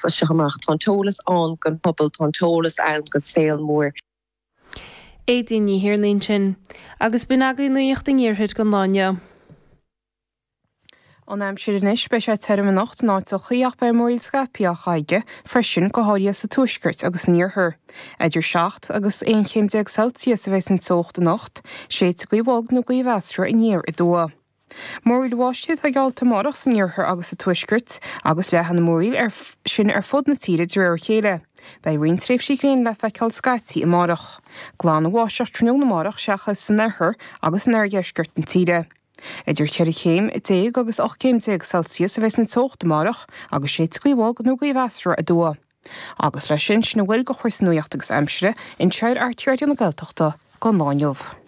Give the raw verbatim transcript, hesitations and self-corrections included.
As seo amach tá an t-eolas ann don phobal tá an t-eolas ann don saol mór. Aedín Ní Thiarnaigh sin, agus b'in agaibh nuacht an iarthair don lá inniu. An aimsir anois beidh sé tirim anocht in áiteachaí ach beidh múraíl scaipthe á chaige freisin go háirithe sa tuaisceart agus san iarthar. Idir seacht agus aon chéim déag Celsius a bheidh an teocht anocht, séidfidh gaoth bhog nó gaoth mheasartha aniar aduaidh. Múraíl bháistí atá geallta amárach san iarthar agus sa tuaisceart agus leathfaidh na múraíl ar sin ar fud na tíre de réir a chéile. Beidh roinnt tréimhsí gréine le feiceáil scaití amárach. Glanbháisteach tráthnóna amárach seachas san oirthear agus in oirdheisceart na tíre. Idir ceithre chéim déag agus ocht gcéim déag Celsius a bheidh an teocht amárach agus séidfidh gaoth bhog nó gaoth mheasartha aduaidh. Agus leis sin sin a bhfuil de chúrsaí nuachta agus aimsire anseo ar RTÉ Raidió na Gaeltachta don lá inniu.